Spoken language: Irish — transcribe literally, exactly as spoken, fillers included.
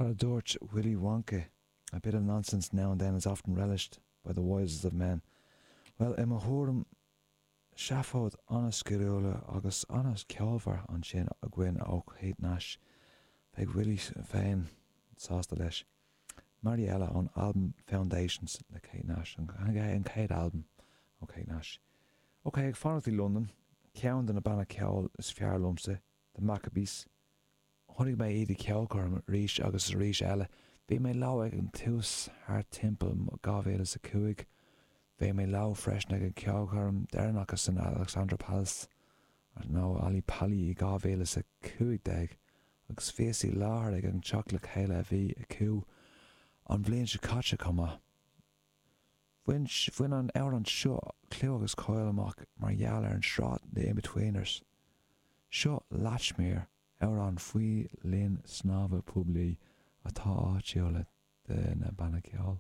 Cad a dúirt Willy Wonka? A bit of nonsense now and then is often relished by the wisest of men. Well, i mo thuairim seafóid an-sciliúil agus an-cheolmhar ansin againn ó Kate Nash. Bheadh Willy féin sásta leis. Mariella ón albam Foundations le Kate Nash an an chéad albam ó Kate Nash. Ok, ag fanacht i London, ceann de na bannaí ceoil is fearr liomsa, The Maccabees. Chonaic mé iad i ceolchoirm arís agus arís eile. Bhí mé leo ag an tús thart timpeall dhá mhíle is a cúig. Bhí mé leo freisin ag an ceolchoirm deireanach san Alexandra Palace nó Ali Pali i dhá mhíle is a cúig déag agus bhíos i láthair ag an teacht le chéile a bhí acu an bhliain seo caite chomh maith. Bhain bhain an amhrán seo clú agus cáil amach mar gheall ar an sraith The Inbetweeners. Seo Latchmere amhrán faoi linn snámha poiblí atá áitiúil de na banna ceoil.